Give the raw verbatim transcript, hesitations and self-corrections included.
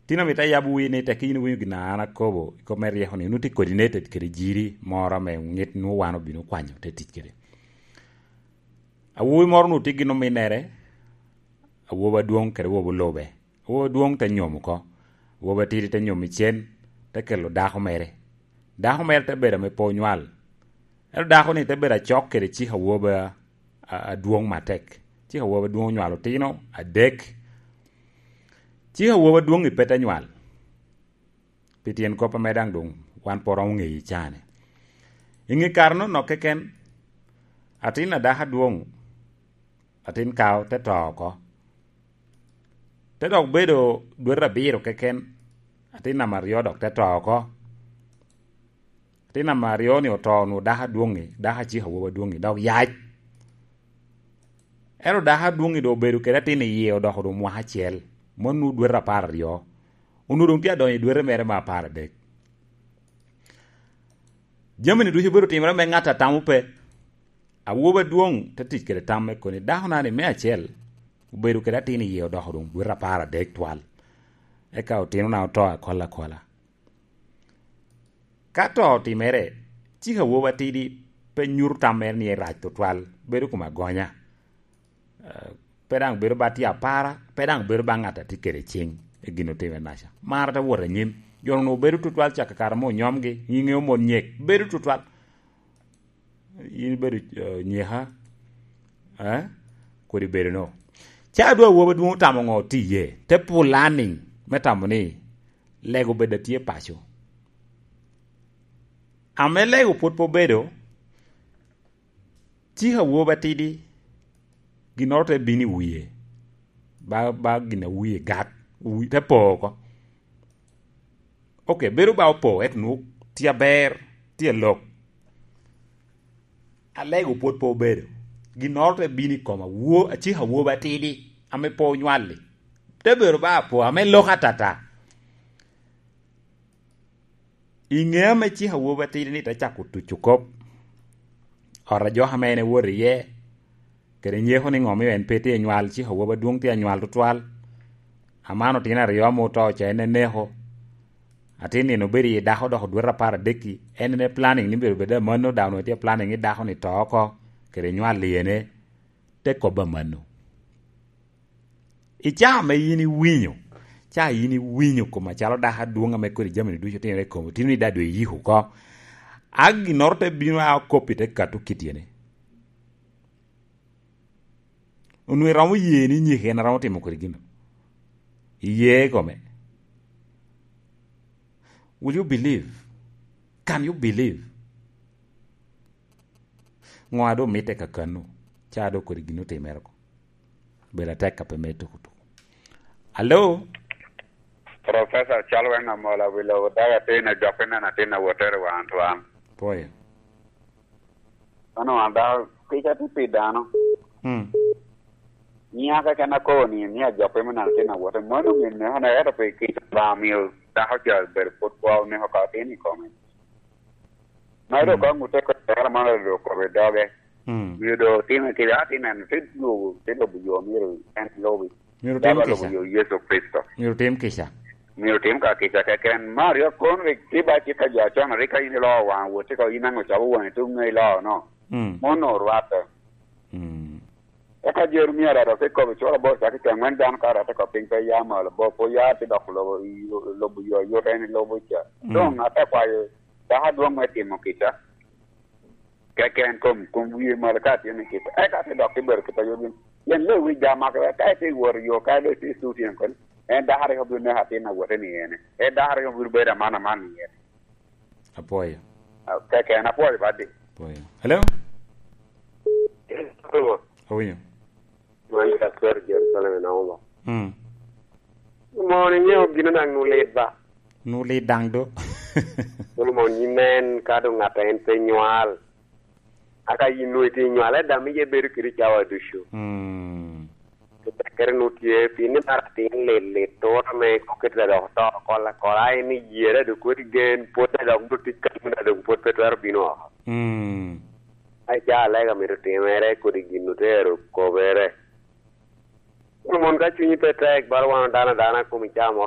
Tin amito ayab wi ni tek in iwinyo gin a an akobo i kop me ryeko ni, onwoŋo tye coordinated kede jiri moro ame ŋit nwoŋo wan obino kwanyo te tic kede. Awobi moro onwoŋo tye gin ominnere, awobi adwoŋ kede awobi olube. Awobi adwoŋ te nyom oko, awobi atidi te nyom i cen, te kelo dako mere. Dako mere te bedo ame pe onywal. Ento dako-ni te bedo acok kede cik awobi a-, a-, adwoŋ matek. Cik awobi adwoŋ onywalo otino adek. Cik awobi adwoŋ-ŋi pe te nywal. Pi tyen kop ame daŋ doŋ wan pe oromo ŋeyo i caa-ni. I ŋe kare-nono keken, atin a dako adwoŋ, atin kao te to oko. Te dok bedo dwete abiro keken, atin namba aryo dok te to oko. Atin namba aryo-ni oto, onwoŋo dako adwoŋ-ŋi, dako acik awobi adwoŋ-ŋi, dok yac. Ento dako adwoŋ-ŋi doŋ obedo kede atin i yie odoko doŋ mwaka acel, mano onwoŋo dwete apar aryo. Onwoŋo doŋ tye adonyo i dwete mere me apar adek. Jami-ni ducu obedo otimere me ŋat a tamo pe. Awobi adwoŋ te tic kede tam me koni, dako-na-ni me acel obedo kede atin i yie odoko doŋ dwete apar adek twal. Eka otinona oto akola akola. Ka to otimere, cik awobi atidi pe nyuto tam mere ni erac tutwal, bedo kom agonya. Eh, pe daŋ bedo ba tye apara, pe daŋ bedo ba ŋat a tye kede ciŋ i gin otime naca. Mar te wot anyim. Jo-nu obedo tutwal cak i kare ame onyomgi, nyiŋe omon nyek, bedo tutwal. In ibedo, eh, nyeka, eh? Kodi bedo no. Ca dwe awobi adwoŋ otamo ŋo tiye? Te planning me tamo ni lego bed atye paco. Ame lego pwod pe obedo, cik awobi atidi, ginnoro te bino i wie. Ba, ba gin a wie gat, wi-, te po oko. Ok, bedo ba opo, ento nwoŋo tye aber, tye alok. Alego pwod pe obedo. Ginnoro te bino i koma, wo-, acik awobi atidi, ame pe onywal-li. Te bedo ba apo, ame lok atata. I ŋe ame cik awobi atidi-ni te cako tuco kop, ot a jok ame en ewot iye, kede nyeko ni ŋo omio en pe tye anywal, cik awobi adwoŋ tye anywal tutwal. Aman otino aryo ame oto ca en eneko. Atin nino obedo i dako dok odwete apar adek-ki, en en planning ni myero bed amanno, dok onwoŋo tye planning ni dako-ni to oko, kede nywal lyene, te kobbe amanno. I caa ame yin iwinyo, caa yin iwinyo kom acalo dako adwoŋ ame kodi jami-ni ducu otimere i komi, otino ni daŋ doŋ iyiko oko. A ginnoro te bino a okoppi te kato kit yene. Onwoŋo iromo ye ni nyeko en aromo timo kodi gino. Iye i kome. Will you believe? Can you believe? Ŋo a doŋ mitte kakano? Ca doŋ kodi gin otimere oko. Bedo atek ka pe me tuku tuku. Alo? Professor, cal wen amola wi lobo, daga atin ajok ineno atin awotere wan twan. Pwoyo. Mano wan dako, kica tye pi dano. Mm. Nyiŋa keken akobo ni, ni ajope me neno atin awote. Mano min me hona, ento pi kica ba miyo dako ca bedo pwod kwo oneko ka atin i kome. Ma ilo ka ŋutte ko tera man ilo kobe doge. Mm. Miyo do timo kede atin en te lubo, te lubo yo myero en lubi. Myero tim kica. Lubo yo Yecu Kricito. Myero tim kica. Myero tim ka kica keken. Mario kon rik tye ba cik a jo acon, rik ka in iloo waŋ wot, cik in aŋo cabo waŋi tuŋ ŋe iloo no. Mm. Mono orwatte. Mm. Eka Jeremia aryo te kobo cura bor cak i caŋ wen dano ka rette ko piny pe ya malo bo, po ya te dok lobo, lobo yo yot en lobo ca. Mm. Doŋ ate kwayo dako adwoŋ me timo kica. Keken kom, kom wie malo ka tye ni kica. Eka te dok te bedo kica yot winy. Pien lewi ja maka ka ite woro yo ka do ite suti en koni. En dako aryo bino neko atin awote ni ene. En dako aryo bino bedo aman aman ni ene. Apwoyo. Ah, keken apwoyo badi. Apwoyo. Hello? Hello. Awinyo. Wan ka kwero Jerusalem i Nauma. Mm. Mon iŋeo gin daŋ nu lit ba? Nu lit daŋ do. Solomon, yin nen ka doŋ ŋat en pe nywal. Aka yin nwoŋo itye nywal, eda mi ye bedo kede cawa ducu. Mm. Tekere nu tye, pien ni mara atin lit lit, tur ame kokete dok oto kola kola, en iyere dok kodi gen, pwod dok dok tic kan mene dok pwod pe twero bino oko. Mm. Ai, ca alega mito timere, kodi gin otero kobere. Kun mon ka cunyi pe tek, bala wan dano adana, kom i caa moro